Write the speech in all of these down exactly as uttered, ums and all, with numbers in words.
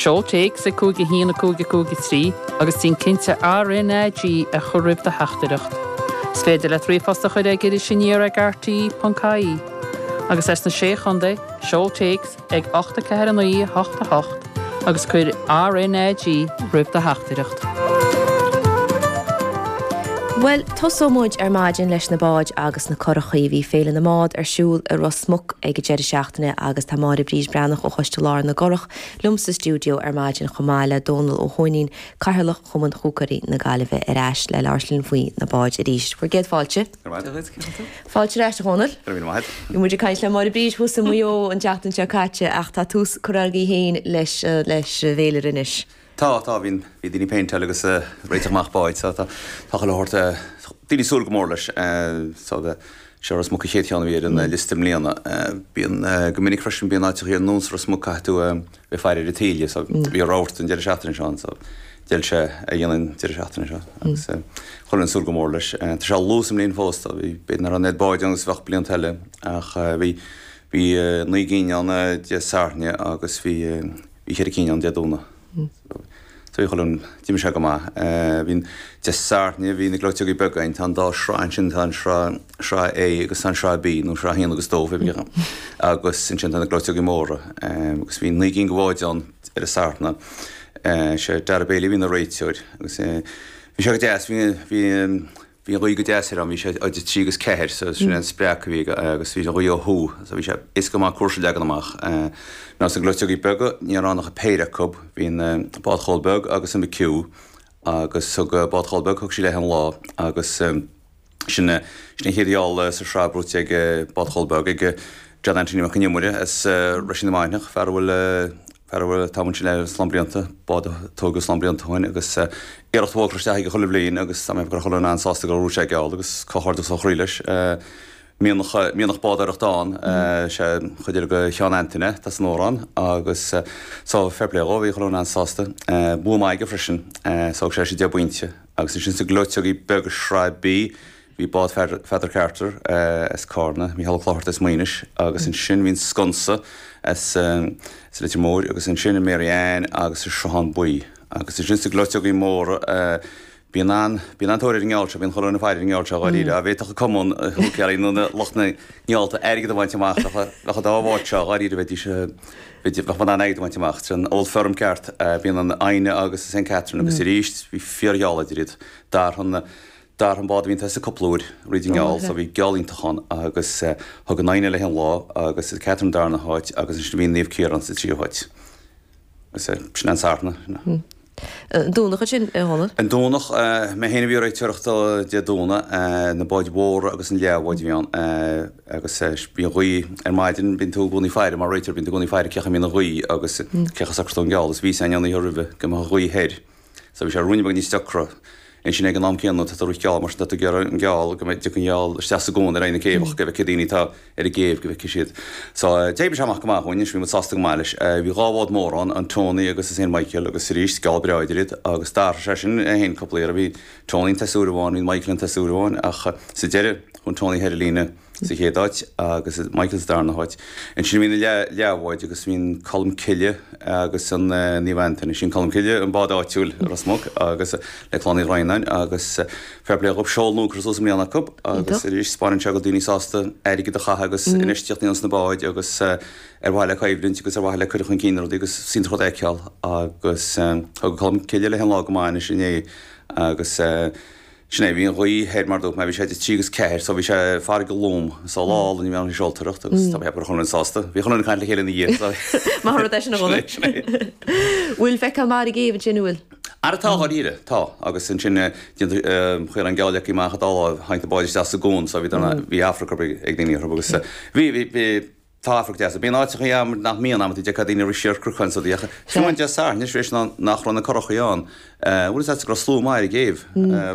Seol téacs ag cúig a haon a cúig a cúig a trí agus déan cinnte RnaG a chur roimh do theachtaireacht. Is féidir leat ríomhphost a chur ag Iris Aniar ag RTÉ ponc ie. Agus as na Sé Chontae, seol téacs ag ocht a ceathair a naoi a hocht a hocht agus cuir RnaG roimh do theachtaireacht. Bhuel, tosóidh muid ar maidin leis na báid agus na curachaí. Bhí Féile na mBád ar siúl i Ros Muc ag an deireadh seachtaine agus tá Máire Bríd Breathnach ó Choiste Láir na gCurach liom sa stiúideo ar maidin chomh maith le Dónal Ó hUaithnín, Cathaoirleach Chumann Húcaeirí na Gaillimhe ar ais le labhairt linn faoi na báid arís. Bhur gcéad fáilte. Fáilte ar ais a Dhónaill. Bhí muid ag caint le Máire Bríd thuas i Maigh Eo an tseachtain seo caite ach tá tús curtha agaibh féin leis leis an bhféilire anois. Tá, tá, bhí bhí daoine ag péinteáil agus réiteach amach báid, so tá tá chuile shórt daoine ag súil go mór leis. So seo Ros Muc an chéad cheann a bhí ar an liosta i mbliana. Bíonn go minic freisin bíonn áiteacha ar nós Ros Muc caithfidh tú bheith ag faire ar an taoille, so bhí rabharta an deireadh seachtaine seo ann, so d'fheil sé a dhéanamh an deireadh seachtaine seo agus chuile dhuine ag súil go mór leis. Tá sé luath sa mbliain fós, so bhí b'fhéidir nach raibh an oiread báid ann agus a bheadh blianta eile ach bhí bhí naoi gcinn ann Dé Sathairn agus bhí bhí ceithre cinn ann Dé Domhnaigh. So bhí chuile dhuine, d'imigh sé go maith. Bhí an Dé Sathairn, bhí na gleoiteogaí beaga ann, tá an dá shraith ansin, tá an sraith, sraith A agus tá an sraith B, nó sraith a haon agus dó, pé bith. Agus ansin tá na gleoiteogaí móra. Agus bhí naoi gcinn de bháid ann ar an Satharn. Sé Dara Bailey a bhí ina réiteoir agus bhí sé go deas, bhí, bhí, Bhí an ghaoth go deas air ann, bhí sé idir trí agus ceathair, so sin an spreacadh a bhí aige agus bhí an ghaoth ó thuaidh, so bhí sé éasca go maith cúrsa a leagan amach. Now sna gleoiteogaí beaga, ní raibh ann ach péire acu, bhí an Bád Chóil Beag agus an McHugh agus thug Bád Chóil Beag, thug sí léi an lá agus sin sin an chéad gheall sa sraith buaite ag Bád Chóil Beag ag John Anthony Mac an Iomaire as Roisín na Mainiach, fear a bhfuil Fear a bhfuil tamall ansin le slám blianta, bád a tógadh slám blianta ó shin agus iarracht mhór curtha isteach aige chuile bhliain agus tá mé ag chuile dhuine an-sásta gur bhuaigh sé geall agus comhghairdeas ó chroí leis. Mianach, mianach bádóireachta ann, sé an chuid eile de Sheán Antaine atá san amhrán agus so fair play dhó, bhí chuile dhuine an-sásta. Bua maith aige freisin, so thug sé leis deich bpointe agus ansin sna gleoiteogaí beaga Sraith B, Bhí bád Pheadar Carter as Cárna, Mícheál Ó Clochartaigh as Maínis agus ansin bhí an Sconsa as Leitir Móir agus ansin an Mary Ann agus an Sruthán Buí. Agus ansin sna gleoiteogaí móra bíonn an, bíonn an-tóir ar an ngeall seo, bíonn chuile dhuine ag faire ar an ngeall seo dháiríre. Dá bhféadfadh an cumann húicéirí nó na lucht na ngeallta airgead a bhaint amach bheadh, bheadh an dá bhád seo dháiríre bheidís, bheadh in ann airgead a bhaint amach. Sin Old Firm ceart, bíonn an Fhoighne agus an Saint Catherine agus arís bhí fíorgheall idir iad. D'athraigh an. D'athraigh an bád a bhí ina thosaigh cúpla uair fríd an ngeall so bhí geall iontach ann agus thug an Fhoighne léi an lá agus Catherine darna háit agus ansin bhí Naomh Ciarán sa tríú háit. Agus sin an Satharn. An Domhnach ansin, a Dhónaill? An Domhnach, mé féin a bhí ag réiteoireacht Dé Domhnaigh, na báid mhóra agus an leathbháid a bhí ann agus bhí an ghaoth ar maidin, bíonn tú i gcónaí ag faire mar réiteoir, bíonn tú i gcónaí ag faire cén chaoi a mbíonn an ghaoth agus cén chaoi a socróidh tú an geall agus bhí a fhios againn an oíche roimhe go mbeadh an ghaoth thoir so bhí sé ruainne beag níos deacra. Ansin ag an am céanna tá tú ag rith geall mar sin tá tú ag iarraidh an geall go mbeidh an gheall isteach sa gcuan ar aghaidh na céibhe go bhfeicfidh daoine atá ar an gcéibh go bhfeicfidh siad. So d'oibrigh sé amach go maith dhúinn anois bhí muid sásta go maith leis. Bhí dhá bhád mór ann, an Tony agus an Saint Michael agus arís geall breá idir iad agus d'athraigh sé sin é féin cúpla iarraidh. Bhí Tony ag tosú uair amháin, bhí Michael ag tosú uair amháin ach sa deireadh chuaigh an Tony thar an líne sa chéad áit agus Michael sa darna háit. Ansin bhí na leathbháid agus bhí an Colm Cille agus an Naomh Antaine. Sin Colm Cille, an bád áitiúil i Ros Muc agus le Clann Uí Dhroighneáin agus fair play dhóibh, seol nua curtha suas i mbliana acu agus arís 'spáineann sé go bhfuil daoine sásta airgead a chaitheamh agus infheistíocht a dhéanamh sna báid agus ar mhaithe le coimhlint agus ar mhaithe le cur chun cinn na rudaí agus is iontach rud a fheiceáil agus thug Colm Cille léi an lá go maith anois inné agus Sin é, bhí an ghaoth thoir mar dúirt mé, bhí sé idir trí agus ceathair, so bhí sé farraige lom, so lá álainn a bhí ann don seoltóireacht agus tá mé ag ceapadh go raibh chuile dhuine sásta. Bhí chuile dhuine ag caint le chéile ina dhiaidh, so. Maith an rud é sin a Dhónaill. Sin é, sin é. Bhfuil feiceáil maith ar an gcéibh ansin, an bhfuil? Ara tá, dháiríre, tá. Agus ansin déantar chuir an geall leagtha amach an dá láimh, tháinig na báid isteach sa gcuan so bhí bhí amharc ag daoine orthu agus bhí, bhí, bhí, Tá amharc deas. Bíonn áiteachaí ann nach mbíonn amantaí d'fheicfeá daoine ag rith siar cnocáin is rudaí ach fiú amháin Dé Sathairn anois tar éis nach raibh na curachaí ann, bhfuil fhios agat go raibh slua maith ar an gcéibh,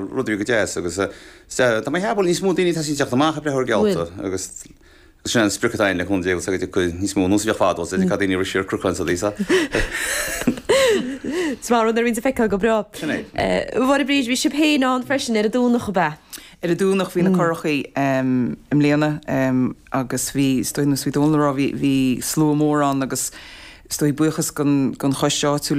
rud a bhí go deas agus tá mé ag ceapadh go bhfuil níos mó daoine ag teacht amach ag breathnú ar geallta agus sin an sprioc atá againn le cúnamh Dé agus go dtiocfaidh níos mó nós a bhíodh fadó is d'fheicfeá daoine ag rith siar cnocáin is rudaí so. Is maith an rud nuair a bhíonn sé feicthe go breá. Sin é. Mháire Bríd, bhí sibh féin ann freisin ar an Domhnach ab ea? Ar an Domhnach bhí na curachaí i mbliana agus bhí, is dóigh, nós bhí Dónal ag rá, bhí, bhí slua mór ann agus Is dóigh buíochas don don choiste áitiúil.